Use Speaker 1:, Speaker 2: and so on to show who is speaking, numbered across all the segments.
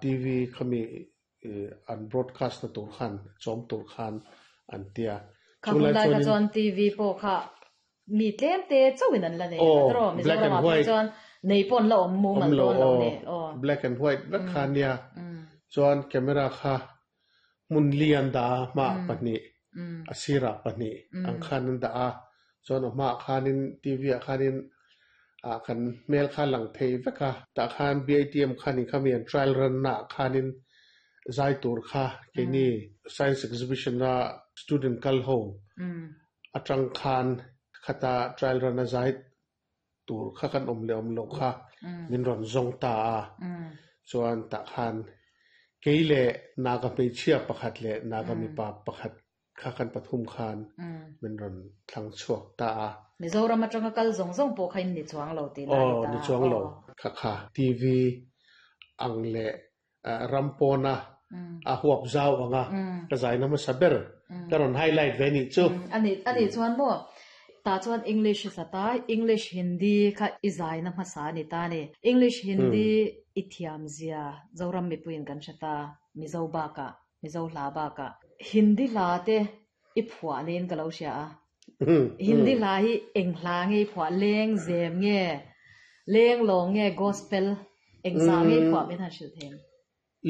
Speaker 1: TV khami an broadcast na tur khan chawm tur khan an tia.
Speaker 2: Kha hun lai kha chuan TV pawh kha mi tlem te chauhin an la nei a tiraw? Mizoram ah phei chuan nei pawh an la awm mumal dawn lo ni.
Speaker 1: Black and white vek kha ania. Chuan camera kha hmun li an dah a, hmaah pahnih, a sirah pahnih ang khan an dah a. Chuan a hmaah khanin TV ah khanin ah kan hmel kha a lang thei vek a. Tah khan BITM khanin khami an trial run na ah khanin zai tur kha keini science exhibition a student kal ho atang khan khata trial run a zai tur kha kan awm leh awm loh kha min rawn zawng ta a. Chuan tah khan kei leh Naga hmeichhia pakhat leh Naga mipa pakhat kha kan pathum khan min rawn thlang chhuak ta a.
Speaker 2: Mizoram atanga kal zawng zawng pawh kha in ni chuang lo tih na a ni ta.
Speaker 1: Aw, ni chuang lo. Kha kha TV ang leh ram pawna a huap zau anga ka zaina hmasa ber ka rawn highlight ve nih chu.
Speaker 2: A nih a nih chuan maw tah chuan English i sat a, English Hindi kha i zaina hmasa a ni ta a ni. English Hindi i thiam zia Zoram mipuiin kan hre ta, Mizo bakah, Mizo hla bakah. Hindi hla te i phuah niin ka lo hria a. Hindi hla hi eng hla nge i phuah? Leng zem nge? Leng lawng nge? Gospel eng zah nge i phuah min han hrilh thei?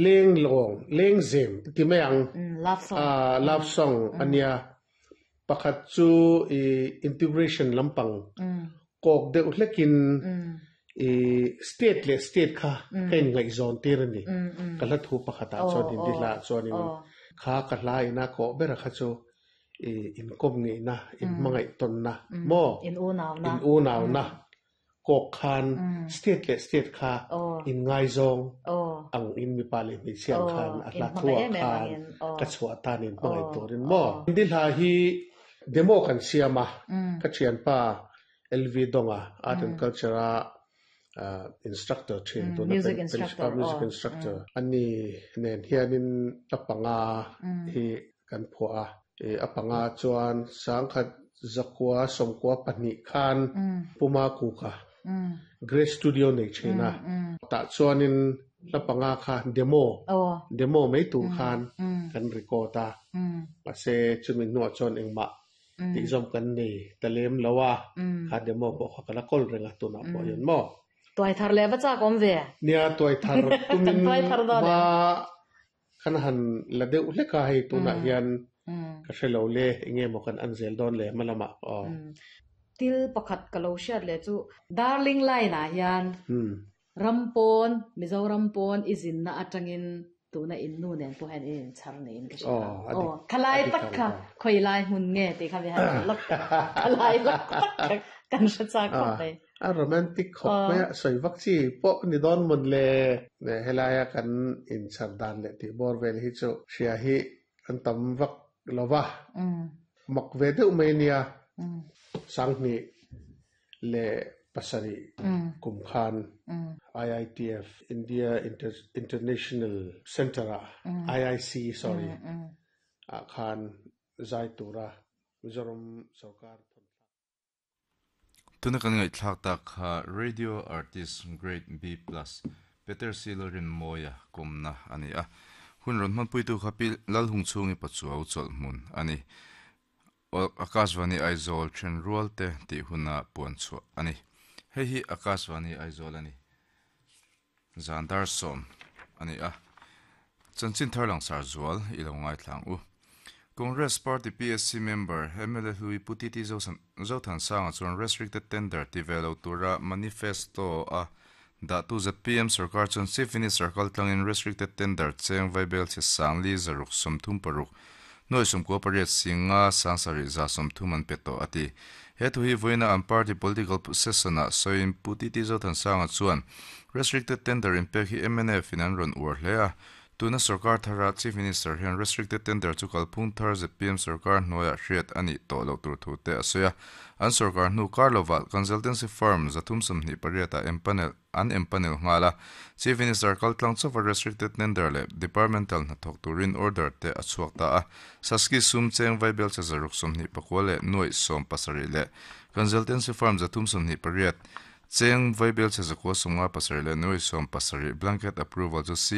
Speaker 1: Leng lawng, leng zem i ti mai ang.
Speaker 2: Love song.
Speaker 1: Love song a nia. Pakhat chu i integration lampang kawk deuh hlekin i state leh state kha ka inngaihzawn tir a ni. Ka hla thu pakhatah chuan Hindi hlaah chuanin kha ka hla ina kawh bera kha chu i inkawm ngeihna, inhmangaih tawnna maw?
Speaker 2: In unauna.
Speaker 1: In unauna kawk khan state leh state kha inngaizawng ang in mipa leh hmeichhia ang khan a hla thuah khan ka chhuah tan in hmangaih turin maw? Hindi hla hi demo kan siam a, ka thianpa LV Donga Art and Culture a instructor thin tuna
Speaker 2: music instructor
Speaker 1: music instructor ani nen hianin a panga hi kan phuah a, a panga chuan sangkhat zakua sawmkua pahnih khan Puma Kuka Grace Studio nei thin a, tah chuanin hla panga kha demo demo mai tur khan kan record a, mahse chumi hnuah chuan engmah tih zawm kan nei ta lem lo a, kha demo pawh kha ka la kawl reng a tunah pawh hian maw.
Speaker 2: Tuai thar leh va chak awm ve.
Speaker 1: Nia tuai thar tumin hma kan han la deuh hlek a hei tunah hian ka hre lo le enge maw kan an zel dawn le hma lamah aw.
Speaker 2: Thil pakhat ka lo hriat leh chu Darling line ah hian Ram pawn, Mizoram pawn i zinna atangin tuna in nu nen pawh hian in inchhar niin ka hria. Aw, khalai tak kha khawi lai hmun nge tih kha mi han hrilh lawk teh. Khalai lawk tak kha kan hre chak khawp mai.
Speaker 1: A romantic khawp mai a, sawi vak chi pawh ni dawn mawn le. Helaia kan inchhar dan leh tih bawr vel hi chu hria hi an tam vak lo va. Mak ve deuh mai ania. Sanghnih leh pasarih kum khan IITF, India International Centre ah, IIC sorry, ah khan zai tura Mizoram sorkar thawn thlak.
Speaker 3: Tuna kan ngaihthlak tak kha Radio Artist Grade B Plus Peter C. Lalrinmawia kawmna a ni a. Hun rawn hmanpuitu kha Pi Lalhungchhungi Pachuau chawlhhmun a ni. Akashvani Aizawl then rual te tih huna puan chhuah a ni. Hei hi Akashvani Aizawl a ni. Zan dar sawm a ni a. Chanchin thar langsar zual i lo ngaithlang u. Congress Party PSC member mla hlui Pu TT Zothansanga chuan restricted tender ti ve lo tura manifesto a dahtu zpm sorkar chuan Chief Minister kaltlangin restricted tender cheng vaibel chhe sangli zaruk 36 nuai 98 singa sangsarih za 30 an pe tawh a ti. He thu hi vawiina an party political session-ah sawiin Pu TT Zothansanga chuan restricted tender inpek hi mnf in an rawn uar hle a, Tuna sorkar thara Chief Minister hian restricted tender chu kalphung thar zpm sorkar hnuaiah hriat a nih tawh loh tur thu te a sawi a. An sorkar hnu kar lovah consultancy firm 328 ah empanel an empanel nghal a. Chief Minister kaltlang chauva restricted tender leh departmental hnathawk turin order te a chhuak ta a. Saski sum cheng vaibel che 629 leh nuaih 17 leh consultancy firm 328 Cheng vaibel chhe zakua 57 leh nuai 70 blanket approval chu.